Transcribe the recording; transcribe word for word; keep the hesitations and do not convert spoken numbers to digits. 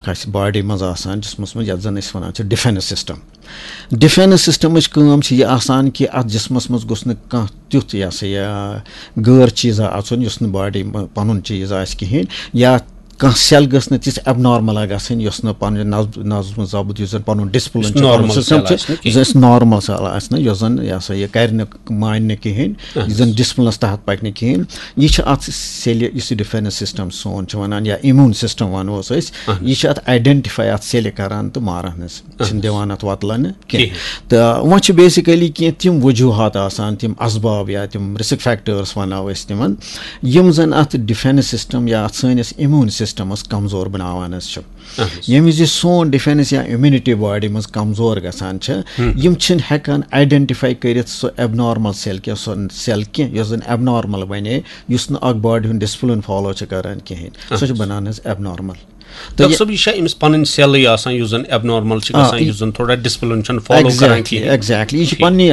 اَسہِ باڈی منٛز آسان، جسمس منٛز، یَتھ زَن أسۍ وَنان چھِ ڈِفٮ۪نٕس سِسٹَم۔ ڈِفٮ۪نٕس سِسٹَمٕچ کٲم چھِ یہِ آسان کہِ اَتھ جسمس منٛز گوٚژھ نہٕ کانٛہہ تیُتھ، یہِ ہسا یہِ، غٲر چیٖزا اَژُن، یُس نہٕ باڈی منٛز پَنُن چیٖز آسہِ کِہیٖنۍ، یا کانٛہہ سیل گٔژھ نہٕ تِژھ ایبنارمل گژھٕنۍ، یۄس نہٕ پَنُن نظم، نظم ضبط، یُس زَن پَنُن ڈِسپلن چھُ، پَنُن نارمل سِسٹَم سیل چھُ، آسہِ نہٕ یُس کِہیٖنۍ۔ اَسہِ نارمل سیل آسہِ نہٕ، یۄس زَن، یہِ ہسا یہِ، کَرِ نہٕ، مانہِ نہٕ کِہیٖنۍ، اہن یُس زَن حظ۔ ڈِسپلنَس تحت پَکہِ نہٕ کِہیٖنۍ۔ یہِ چھِ اَتھ سیلہِ، یُس یہِ ڈِفٮ۪نٕس سِسٹَم سون چھُ وَنان، یا اِمیوٗن سِسٹَم وَنو أسۍ، اہن یہِ چھِ اَتھ آیڈٮ۪نٹِفاے اَتھ سیلہِ کَران تہٕ ماران حظ، اہن چھِنہٕ حظ۔ دِوان اَتھ وۄتلَنہٕ کِہیٖنۍ۔ کِہیٖنۍ۔ تہٕ وۄنۍ چھِ بیسِکٔلی کینٛہہ تِم وجوٗہات آسان، تِم اسباب یا تِم رِسک فیکٹٲرٕس وَنو أسۍ تِمَن، یِم زَن اَتھ ڈِفٮ۪نٕس سِسٹَم یا اَتھ سٲنِس اِمیوٗن سِسٹَمَس کَمزور بَناوان حظ چھِ۔ اہن حظ۔ ییٚمہِ وِزِ یہِ سون ڈِفٮ۪نٕس یا اِمیوٗنِٹی باڈی منٛز کَمزور گژھان چھِ، ہم۔ یِم چھِنہٕ ہٮ۪کان آیڈٮ۪نٹِفاے کٔرِتھ سُہ ایبنارمل سیل کینٛہہ، سۄ سیل کینٛہہ، یۄس زَن ایبنارمل بَنے، یُس نہٕ اَکھ باڈی ہُنٛد ڈِسپلن فالو چھِ کَران کِہیٖنۍ۔ سۄ چھِ اہن حظ۔ بَنان حظ ایبنارمل۔ تہٕ ڈاکٹر یہِ صٲب، یہِ چھا أمِس پَنٕنۍ سیلٕے آسان، یُس زَن ایبنارمل چھِ آ، گژھان، یہِ یُس زَن تھوڑا ڈِسپلن چھُنہٕ فالو کَران exactly، کِہیٖنۍ؟ Exactly۔ یہِ چھِ ٹھیٖک۔ پَننی